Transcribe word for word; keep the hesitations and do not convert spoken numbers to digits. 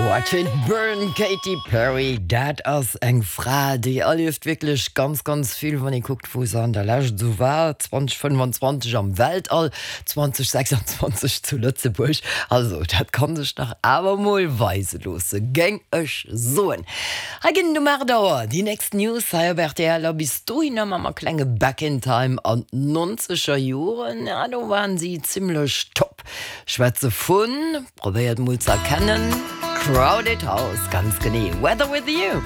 Watch It Burn, Katy Perry, dat ass eng Fra, déi erlieft wierklech ganz ganz vill, wann ee kuckt, wou se an der Lescht esou war, zweedausendfënnfanzwanzeg am Weltall, zweedausendsechsanzwanzeg zu Lëtzebuerg, also dat kann sech nach awer mol weise loosse, géing ech soen. Hei ginn et um aacht Auer déi nächst News hei op R T L a bis dohinner maache mer e klenge Back in Time an d'nonzeger Joren, ja, do waren si zimmlech top. Schwätze vun, probéiert mol ze erkennen, Crowded House, ganz genee, Weather With You.